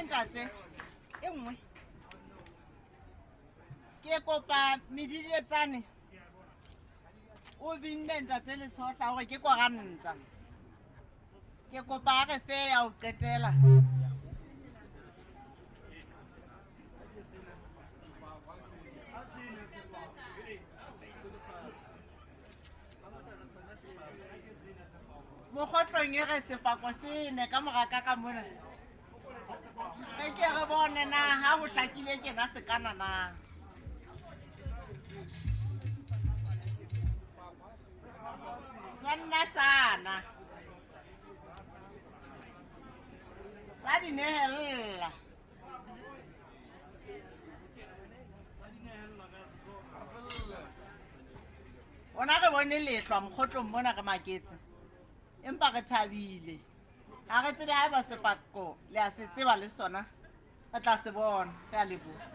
nngwe ntate, e nngwe. Ke kopa medidietsane o binne ntate Letshohla hore ke koranta. Ke kopa a re fe ya ho qetela. Mokgotlong e re sefako se ne ka mora ka ka mona. Re ke re bone na ha ho hlakile tjena se kana na. Sa nna sana. Sa di nehella. Rona re bone lehlwa mokgotlong mona re maketse. Empa re thabile. Ha re tsebe haeba sefako le a se tseba le sona. Re tla se bona. Re a leboha.